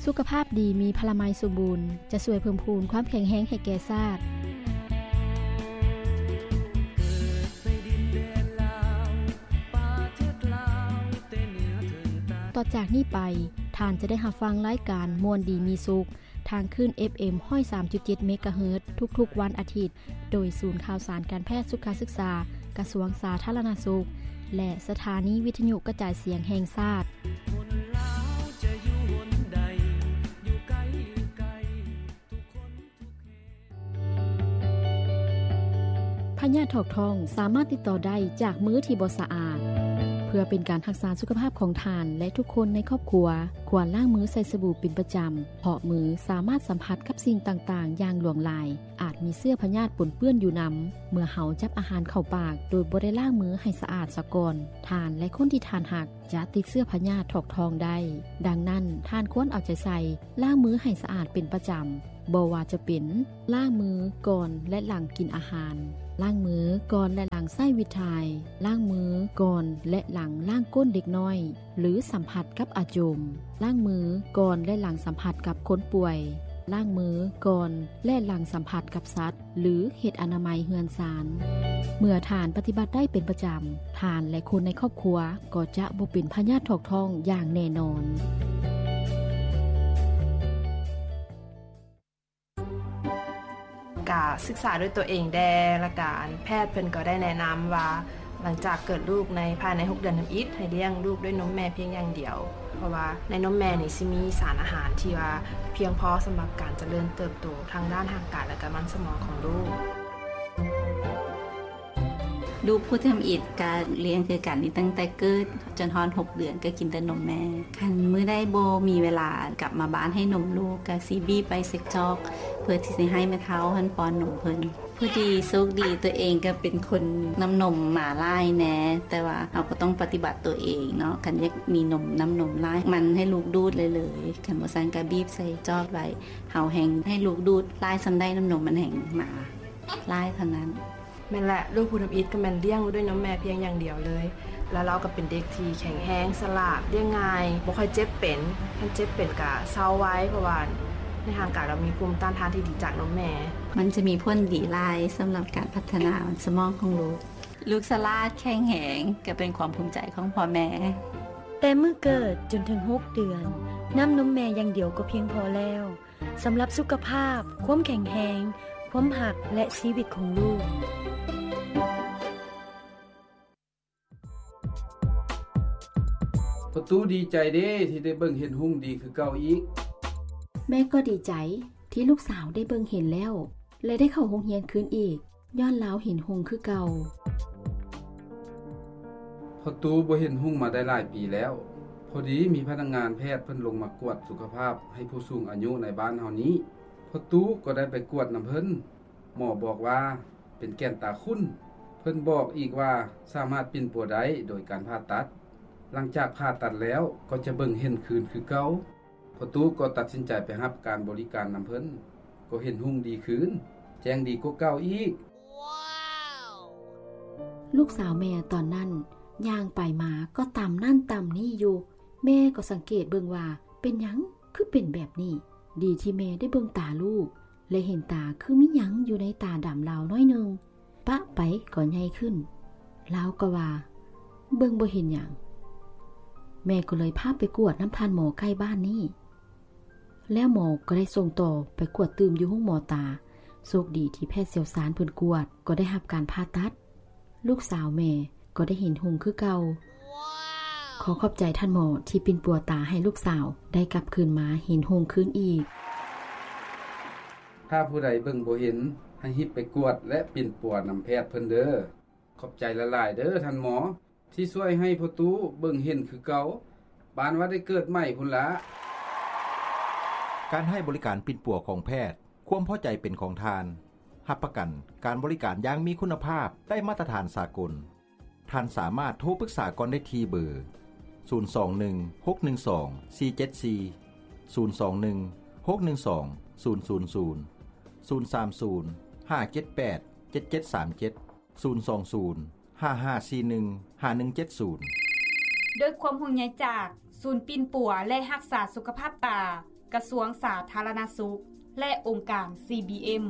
ສຸຂະພາບດີມີພະລາໄມສົມບູນ ຈະຊ່ວຍເພີ່ມພູນຄວາມແຂງແຮງໃຫ້ແກ່ຊາດ. ຕໍ່ຈາກນີ້ໄປ, ທ່ານຈະໄດ້ຮັບຟັງລາຍການມ່ວນດີມີສຸກ ທາງຄື້ນ ເອັຟເອັມ ຮ້ອຍສາມຈຸດເຈັດ ເມກາເຮີດ ທຸກໆວັນອາທິດ ໂດຍສູນຂ່າວສານການແພດສຸຂະສຶກສາ ກະຊວງສາທາລະນະສຸກ ແລະ ສະຖານີວິທະຍຸກະຈາຍສຽງແຫ່ງຊາດ. ພະຍາດຖອກທ້ອງສາມາດຕິດຕໍ່ໄດ້ຈາກມືທີ່ບໍ່ສະອາດ. ເພື່ອເປັນການຮັກສາສຸຂະພາບຂອງທ່ານ ແລະ ທຸກຄົນໃນຄອບຄົວ, ຄວນລ້າງມືໃສ່ສະບູເປັນປະຈຳ, ເພາະມືສາມາດສຳຜັດກັບສິ່ງຕ່າງໆຢ່າງຫຼວງຫຼາຍ, ອາດມີເຊື້ອພະຍາດປົນເປື້ອນຢູ່ນຳ. ເມື່ອເຮົາຈັບອາຫານເຂົ້າປາກໂດຍບໍ່ໄດ້ລ້າງມືໃຫ້ສະອາດສາກ່ອນ, ທ່ານ ແລະ ຄົນທີ່ທ່ານຮັກຈະຕິດເຊື້ອພະຍາດຖອກທ້ອງໄດ້. ດັ່ງນັ້ນ, ທ່ານຄວນເອົາໃຈໃສ່ລ້າງມືໃຫ້ສະອາດເປັນປະຈຳ, ບໍ່ວ່າຈະເປັນ ລ້າງມືກ່ອນ ແລະ ຫຼັງກິນອາຫານ, ລ້າງມືກ່ອນ ແລະ ຫຼັງໃຊ້ວິດຖ່າຍ, ລ້າງມືກ່ອນ ແລະ ຫຼັງລ້າງກົ້ນເດັກນ້ອຍ ຫຼື ສຳຜັດກັບອາຈົມ, ລ້າງມືກ່ອນ ແລະ ຫຼັງສຳຜັດກັບຄົນປ່ວຍ, ລ້າງມືກ່ອນ ແລະ ຫຼັງສຳຜັດກັບສັດ ຫຼື ເຮັດອະນາໄມເຮືອນຊານ. ເມື່ອທ່ານປະຕິບັດໄດ້ເປັນປະຈຳ, ທ່ານ ແລະ ຄົນໃນຄອບຄົວກໍຈະບໍ່ເປັນພະຍາດຖອກທ້ອງຢ່າງແນ່ນອນ. ກະສຶກສາດ້ວຍຕົວເອງແດ່ ແລ້ວກະອັນແພດເພິ່ນກໍໄດ້ແນະນຳວ່າ ຫຼັງຈາກເກີດລູກໃນພາຍໃນຫົກເດືອນທຳອິດ ໃຫ້ລ້ຽງລູກດ້ວຍນົມແມ່ພຽງຢ່າງດຽວ ເພາະວ່າໃນນົມແມ່ນີ້ຊິມີສານອາຫານທີ່ວ່າພຽງພໍສຳລັບການຈະເລີນເຕີບໂຕທາງດ້ານຮ່າງກາຍ ແລະກະມັນສະໝອງຂອງລູກ. ລູກຜູ້ທຳອິດກະລ້ຽງຄືກັນນີ້ ຕັ້ງແຕ່ເກີດຈົນຮອດຫົກເດືອນກະກິນແຕ່ນົມແມ່. ຄັນມື້ໃດບໍ່ມີເວລາກັບມາບ້ານໃຫ້ນົມລູກ ກະຊິບີບໄປເຊັກຈອກ ເພື່ອທີ່ຊິໃຫ້ແມ່ເຖົ້າຫັ້ນປ້ອນນົມເພິ່ນ. ພໍດີໂຊກດີ ຕົວເອງກະເປັນຄົນນ້ຳນົມມາຫຼາຍແດ່ ແຕ່ວ່າເຮົາກໍຕ້ອງປະຕິບັດຕົວເອງເນາະ. ຄັນຢາກມີນົມ ນ້ຳນົມຫຼາຍ ໝັ່ນໃຫ້ລູກດູດເລີຍໆ. ຄັນບໍ່ຊັ້ນກະບີບໃສ່ຈອກໄວ້ ເຮົາແຮ່ງໃຫ້ລູກດູດຫຼາຍສ່ຳໃດ ນ້ຳນົມມັນແຮ່ງມາຫຼາຍເທົ່ານັ້ນ. ແມ່ນແຫຼະ ລູກຜູ້ທຳອິດກໍແມ່ນລ້ຽງດ້ວຍນົມແມ່ພຽງຢ່າງດຽວເລີຍ ແລ້ວລາວກໍເປັນເດັກທີ່ແຂງແຮງ, ສະຫຼາດ, ລ້ຽງງ່າຍ, ບໍ່ຄ່ອຍເຈັບເປັນ. ຄັນເຈັບເປັນກະເຊົາໄວ ເພາະວ່າໃນຮ່າງກາຍລາວມີພູມຕ້ານທານທີ່ດີຈາກນົມແມ່. ມັນຈະມີຜົນດີຫຼາຍສຳລັບການພັດທະນາສະໝອງຂອງລູກ. ລູກສະຫຼາດ, ແຂງແຮງ, ກໍເປັນຄວາມພູມໃຈຂອງພໍ່ແມ່. ແຕ່ມື້ເກີດຈົນເຖິງຫົກເດືອນ, ນ້ຳນົມແມ່ຢ່າງດຽວກໍພຽງພໍແລ້ວ. ສຳລັບສຸຂະພາບ, ຄວາມແຂງແຮງ, ຄວາມຮັກ ແລະ ຊີວິດຂອງລູກ. ພໍ່ຕູ້ດີໃຈເດ້ ທີ່ໄດ້ເບິ່ງເຫັນຮຸ່ງດີຄືເກົ່າອີກ. ແມ່ກໍດີໃຈທີ່ລູກສາວໄດ້ເບິ່ງເຫັນແລ້ວ ແລະ ໄດ້ເຂົ້າໂຮງຮຽນຄືນອີກ. ຍ້ອນລາວເຫັນຮຸ່ງຄືເກົ່າ. ພໍ່ຕູ້ບໍ່ເຫັນຮຸ່ງມາໄດ້ຫຼາຍປີແລ້ວ. ພໍດີມີພະນັກງານແພດເພິ່ນລົງມາກວດສຸຂະພາບໃຫ້ຜູ້ສູງອາຍຸໃນບ້ານເຮົານີ້. ພໍ່ຕູ້ກໍໄດ້ໄປກວດນຳເພິ່ນ. ໝໍບອກວ່າເປັນແກ່ນຕາຂຸ້ນ. ເພິ່ນບອກອີກວ່າສາມາດປິ່ນປົວໄດ້ໂດຍການຜ່າຕັດ. ຫຼັງຈາກຜ່າຕັດແລ້ວກໍຈະເບິ່ງເຫັນຄືນຄືເກົ່າ. ພໍ່ຕູ້ກໍຕັດສິນໃຈໄປຮັບການບໍລິການນຳເພິ່ນ, ກໍເຫັນຮຸ່ງດີຄືນ, ແຈ້ງດີກວ່າເກົ່າອີກ. ລູກສາວແມ່ຕອນນັ້ນຍ່າງໄປມາກໍຕຳນັ້ນຕຳນີ້ຢູ່. ແມ່ກໍສັງເກດເບິ່ງວ່າເປັນຫຍັງຄືເປັນແບບນີ້. ດີທີ່ແມ່ໄດ້ເບິ່ງຕາລູກ ແລະ ເຫັນຕາຄືມີຫຍັງຢູ່ໃນຕາດຳລາວໜ້ອຍໜຶ່ງ. ປະໄປກໍໃຫຍ່ຂຶ້ນ. ລາວກໍວ່າເບິ່ງບໍ່ເຫັນຫຍັງ. ແມ່ກໍເລີຍພາໄປກວດນຳທ່ານໝໍໃກ້ບ້ານນີ້. ແລ້ວໝໍກໍໄດ້ສົ່ງຕໍ່ໄປກວດຕື່ມຢູ່ໂຮງໝໍຕາ. ໂຊກດີທີ່ແພດຊ່ຽວຊານເພິ່ນກວດກໍໄດ້ຮັບການຜ່າຕັດ. ລູກສາວແມ່ກໍໄດ້ເຫັນຮຸ່ງຄືເກົ່າ. ຂໍຂອບໃຈທ່ານໝໍທີ່ປິ່ນປົວຕາໃຫ້ລູກສາວໄດ້ກັບຄືນມາເຫັນຮຸ່ງຄືນອີກ. ຖ້າຜູ້ໃດເບິ່ງບໍ່ເຫັນ, ໃຫ້ຮີບໄປກວດ ແລະ ປິ່ນປົວນຳແພດເພິ່ນເດີ. ຂອບໃຈຫຼາຍໆເດີທ່ານໝໍ ທີ່ຊ່ວຍໃຫ້ພໍ່ຕູ້ເບິ່ງເຫັນຄືເກົ່າ, ປານວ່າໄດ້ເກີດໃໝ່ພຸ້ນລະ. ການໃຫ້ບໍລິການປິ່ນປົວຂອງແພດ, ຄວາມພໍໃຈເປັນຂອງທ່ານ. ຮັບປະກັນການບໍລິການຢ່າງມີຄຸນນະພາບ, ໄດ້ມາດຕະຖານສາກົນ. ທ່ານສາມາດໂທປຶກສາກ່ອນໄດ້ທີ່ເບີ ສູນສອງໜຶ່ງ ຫົກໜຶ່ງສອງ ສີ່ເຈັດສີ່, ສູນສອງໜຶ່ງ ຫົກໜຶ່ງສອງ ສູນສູນສູນ, ສູນສາມສູນ ຫ້າເຈັດແປດ ເຈັດເຈັດສາມເຈັດ, ສູນສອງສູນ ຫ້າຫ້າສີ່ໜຶ່ງ ຫ້າໜຶ່ງເຈັດສູນ. ດ້ວຍຄວາມຫ່ວງໃຍຈາກສູນປິ່ນປົວ ແລະ ຮັກສາສຸຂະພາບຕາ ກະຊວງສາທາລະນະສຸກ ແລະ ອົງການ CBM.